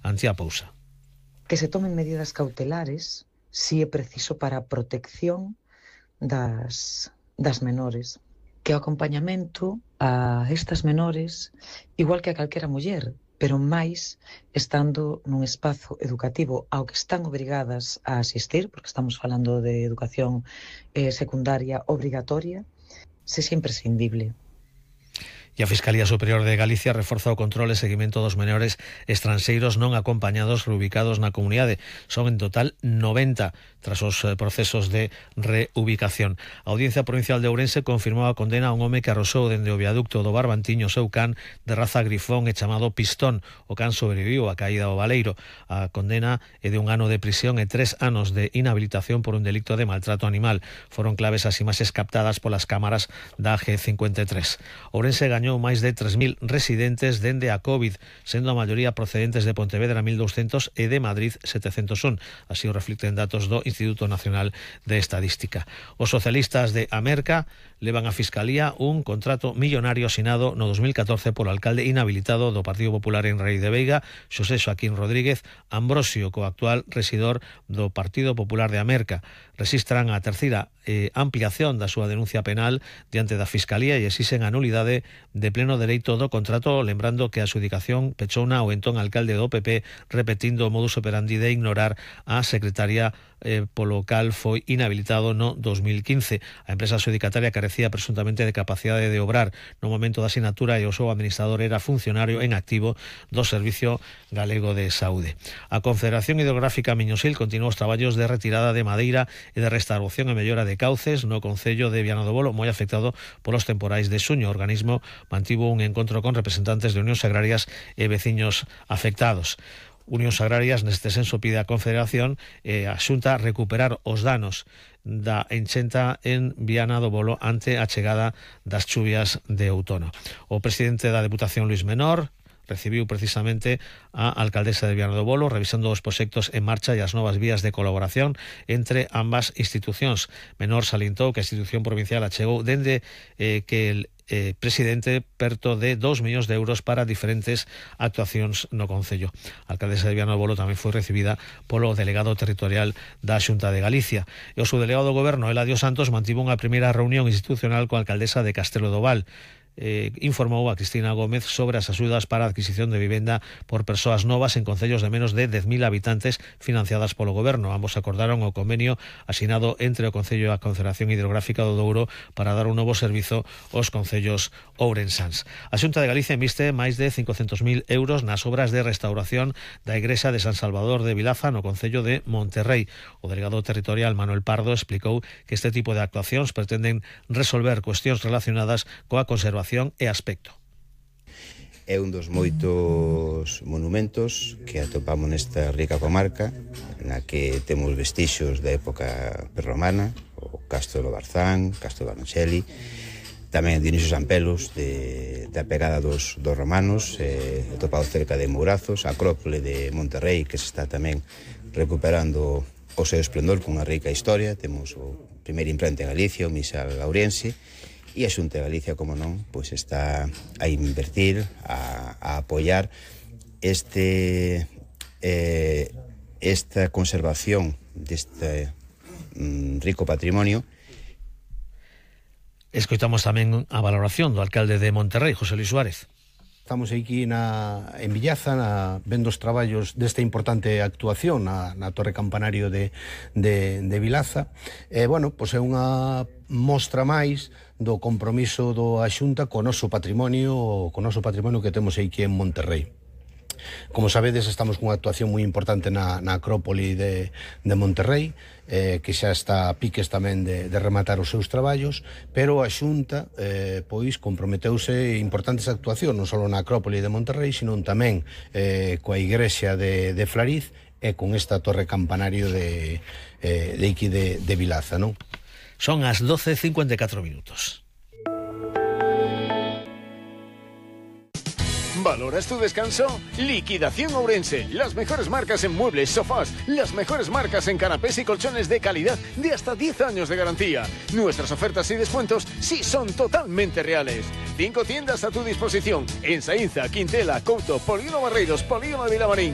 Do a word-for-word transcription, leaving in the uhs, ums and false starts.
Antía Pousa. Que se tomen medidas cautelares si é preciso para a protección das, das menores. Que o acompañamento a estas menores, igual que a calquera muller, pero máis estando nun espazo educativo ao que están obrigadas a asistir, porque estamos falando de educación eh, secundaria obrigatoria, sexa imprescindible. E a Fiscalía Superior de Galicia reforza o control e seguimento dos menores estranxeiros non acompañados reubicados na comunidade. Son en total noventa tras os procesos de reubicación. A Audiencia Provincial de Ourense confirmou a condena a un home que arrosou dende o viaducto do Barbantiño seu can de raza grifón e chamado Pistón. O can sobreviviu a caída ao baleiro. A condena é de un ano de prisión e tres anos de inhabilitación por un delito de maltrato animal. Foron claves as imaxes captadas polas cámaras da G cincuenta e tres. Ourense gañou máis de tres mil residentes dende a COVID, sendo a maioría procedentes de Pontevedra mil douscentos e de Madrid setecentos un. Así o reflicten datos do Instituto Nacional de Estadística. Os socialistas de Amerca levan a Fiscalía un contrato millonario asinado no dos mil catorce polo alcalde inhabilitado do Partido Popular en Rei de Veiga, Xosé Xoaquín Rodríguez Ambrosio, co actual rexidor do Partido Popular de Amerca. Resistran a terceira eh, ampliación da súa denuncia penal diante da Fiscalía e exixen a nulidade de pleno dereito do contrato, lembrando que a adxudicación pechouna o entón alcalde do P P repetindo o modus operandi de ignorar a secretaria eh, polo cal foi inhabilitado no dos mil quince. A empresa adxudicataria carecía presuntamente de capacidade de obrar no momento da asinatura e o seu administrador era funcionario en activo do Servicio Galego de Saúde. A Confederación Hidrográfica Miñosil continuou os traballos de retirada de madeira e de restauración e mellora de cauces no concello de Viana do Bolo, moi afectado polos temporais de xuño. O organismo mantivo un encontro con representantes de unións agrarias e veciños afectados. Unións Agrarias neste senso pide a Confederación e a Xunta recuperar os danos da enchenta en Viana do Bolo ante a chegada das chuvias de outono. O presidente da Deputación, Luis Menor, recibiu precisamente a alcaldesa de Viana do Bolo revisando os proxectos en marcha e as novas vías de colaboración entre ambas institucións. Menor salientou que a institución provincial achegou dende eh, que el Eh, presidente perto de dos millóns de euros para diferentes actuacións no concello. A alcaldesa de Viana do Bolo tamén foi recibida polo delegado territorial da Xunta de Galicia. E o subdelegado do goberno, Eladio Santos, mantivo unha primeira reunión institucional coa alcaldesa de Castelo do Val. Eh, informou a Cristina Gómez sobre as axudas para a adquisición de vivenda por persoas novas en concellos de menos de dez mil habitantes financiadas polo goberno. Ambos acordaron o convenio asinado entre o Concello e a Confederación Hidrográfica do Douro para dar un novo servizo aos concellos ourensáns. A Xunta de Galicia inviste máis de cincocentos mil euros nas obras de restauración da igrexa de San Salvador de Vilaza no concello de Monterrei. O delegado territorial Manuel Pardo explicou que este tipo de actuacións pretenden resolver cuestións relacionadas coa conservación e aspecto. É un dos moitos monumentos que atopamos nesta rica comarca na que temos vestixios da época prerromana, o Castro do Barzán, Castro do Arnxeli, tamén Dionisio Sampelos de, da pegada dos, dos romanos, eh, atopado cerca de Mourazos, a Acrópole de Monterrei que se está tamén recuperando o seu esplendor con unha rica historia. Temos o primeiro imprenta en Galicia, o Misal Lauriense, e a Xunta de Galicia, como non, pois está a invertir, a, a apoiar este eh, esta conservación deste mm, rico patrimonio. Escoitamos tamén a valoración do alcalde de Monterrei, José Luis Suárez. Estamos aquí na, en Villaza na, vendo os traballos desta importante actuación na, na Torre Campanario de, de, de Vilaza. E, bueno, pois é unha mostra máis do compromiso do a Xunta co noso patrimonio, co noso patrimonio que temos aquí en Monterrei. Como sabedes, estamos cunha actuación moi importante na, na Acrópole de, de Monterrei, eh, que xa está a piques tamén de, de rematar os seus traballos, pero a Xunta eh, pois comprometeuse importantes actuacións, non só na Acrópole de Monterrei, sino tamén eh, coa igrexa de, de Flariz e con esta torre campanario de, eh, de Iki de, de Vilaza, non? Son as doce e cincuenta e catro minutos. ¿Valoras tu descanso? Liquidación Ourense. Las mejores marcas en muebles, sofás, las mejores marcas en canapés y colchones de calidad de hasta diez años de garantía. Nuestras ofertas y descuentos sí son totalmente reales. Cinco tiendas a tu disposición en Saínza, Quintela, Couto, Polígono Barreiros, Polígono de Vilamarín.